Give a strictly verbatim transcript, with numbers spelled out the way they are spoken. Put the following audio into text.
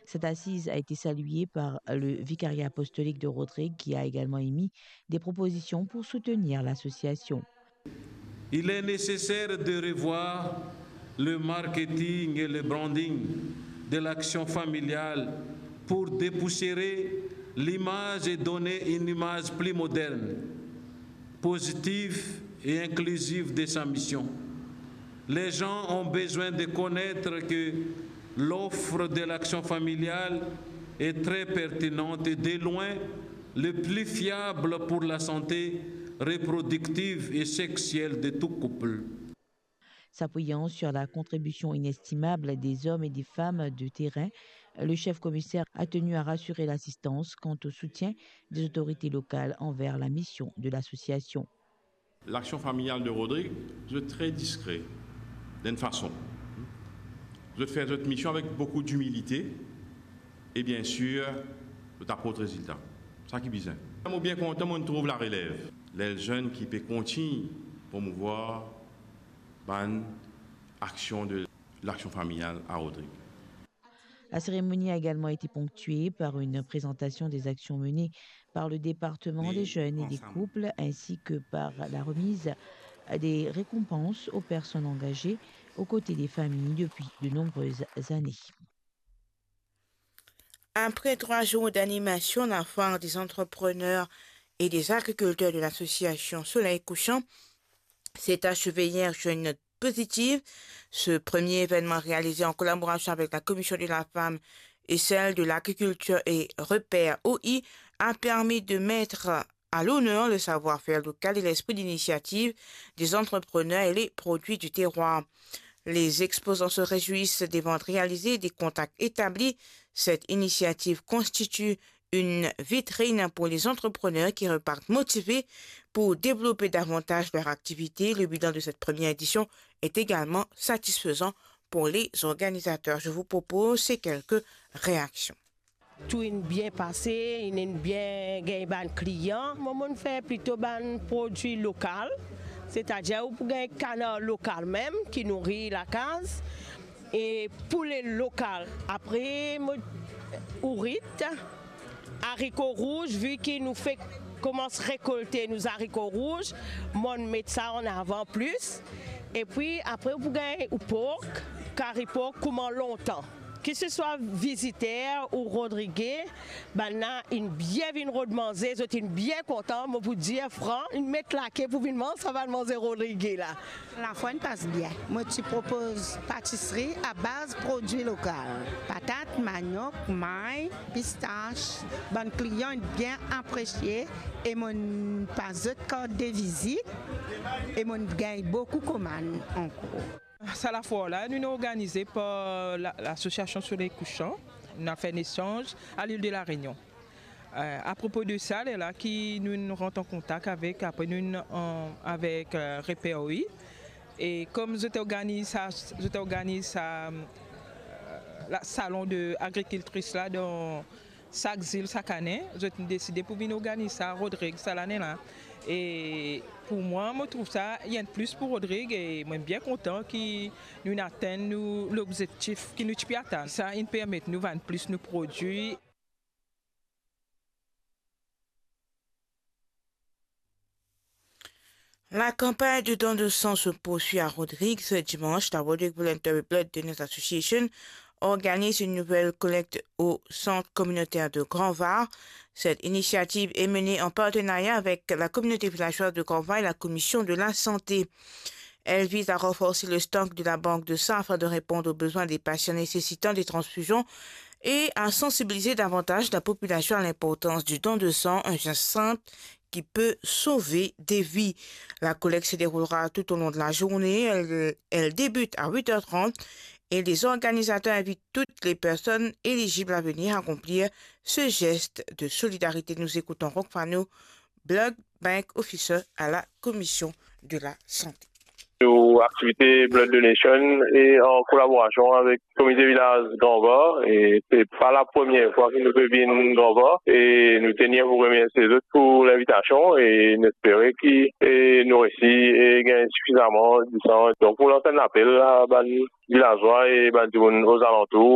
Cette assise a été saluée par le Vicariat apostolique de Rodrigues, qui a également émis des propositions pour soutenir l'association. Il est nécessaire de revoir le marketing et le branding de l'action familiale pour dépoussiérer l'image et donner une image plus moderne, positive et inclusive de sa mission. Les gens ont besoin de connaître que l'offre de l'action familiale est très pertinente et de loin le plus fiable pour la santé reproductive et sexuelle de tout couple. S'appuyant sur la contribution inestimable des hommes et des femmes de terrain, le chef commissaire a tenu à rassurer l'assistance quant au soutien des autorités locales envers la mission de l'association. Laksyon familial de Rodrig, zot tre diskre, dan enn fason. Zot fer zot mision avek boukou dimilite e, biensir, zot aport rezilta. Sa ki bizin. Mo bien kontan, mo trouv larelev, ler zenn ki pe kontign promouvwar bann aksion de laksyon familial a Rodrig. La cérémonie a également été ponctuée par une présentation des actions menées par le département des jeunes et des couples, ainsi que par la remise des récompenses aux personnes engagées aux côtés des familles depuis de nombreuses années. Après trois jours d'animation, la foire des entrepreneurs et des agriculteurs de l'association Soleil Couchant s'est achevée hier sur une note positive. Ce premier événement, réalisé en collaboration avec la Commission de la Femme et celle de l'Agriculture et Repère O I, a permis de mettre à l'honneur le savoir-faire local et l'esprit d'initiative des entrepreneurs et les produits du terroir. Les exposants se réjouissent des ventes réalisées, des contacts établis. Cette initiative constitue une vitrine pour les entrepreneurs qui repartent motivés pour développer davantage leur activité. Le bilan de cette première édition est également satisfaisant pour les organisateurs. Je vous propose ces quelques réactions. Tou inn bien pase, inn, inn bien gagn bann klian. Mo, mo'nn fer plito bann prodwi lokal, setadir ou pou gagn kanar lokal mem ki nouri lakaz, e poule lokal. Apre mo, ourit, ariko rouz, vi ki nou fek komans rekolte nou zariko rouz, mo'nn met sa an avan plis. Epi apre ou pou gagn ou pork, kari pork kouma lontan. Ki se swa viziter ou Rodrige, bannla inn bien vinn rod manze, zot inn bien kontan, mo pou dir fran, inn met lake pou vinn manz sa bann manze Rodrige la. Lafwa inn pas bien. Mo ti propoz patisri a baz prodwi lokal, patat, manok, may, pistas. Bann klian inn bien apresie e mo'nn pas zot kart de vizit e mo'nn gagn boukou komann ankor. Sa lafoar la, nou'nn organize par la, lasosiasion Soleil Couchant. Nou al fer enn esanz a Lil de La Rényon. Eh, apropo de sa, lerla ki nou'nn rant an kontak avek, apre nou'nn, eh, avek, eh, Reper O I. E kom zot organiz sa, zot organiz sa, eh, la, salon de agrikiltris la dan sak zil, sak ane, zot inn deside pou vinn organiz sa Rodrig sa lane la. E pou mwa, mo trouv sa enn plis pou Rodrig e mo'nn bien kontan ki nou'nn atenn nou lobzektif ki nou ti pe atann. Sa inn permet nou vann plis nou prodwi. La campagne de don de sang se poursuit à Rodrigues ce dimanche. La Rodrigues Voluntary Blood Donors Association organise une nouvelle collecte au centre communautaire de Grand Var. Cette initiative est menée en partenariat avec la communauté villageoise de Grand Var et la commission de la santé. Elle vise à renforcer le stock de la banque de sang afin de répondre aux besoins des patients nécessitant des transfusions et à sensibiliser davantage la population à l'importance du don de sang, un geste simple qui peut sauver des vies. La collecte se déroulera tout au long de la journée. Elle, elle débute à huit heures trente et les organisateurs invitent toutes les personnes éligibles à venir accomplir ce geste de solidarité. Nous écoutons Rock Fano, Blood Bank Officer à la Commission de la Santé. Nou aktivite Blood Donation e an kolaborasion avek Komite Vilaz Grand Var, e se pa lapremie fwa ki nou pe vinn Grand Var, e nou tenir pou remersie zot pou linvitasion, e nou espere ki, e nou resi, e gagn sifizaman disan. Donk, pou lans enn lapel a bann vilazwa e bann dimoun ozalantour,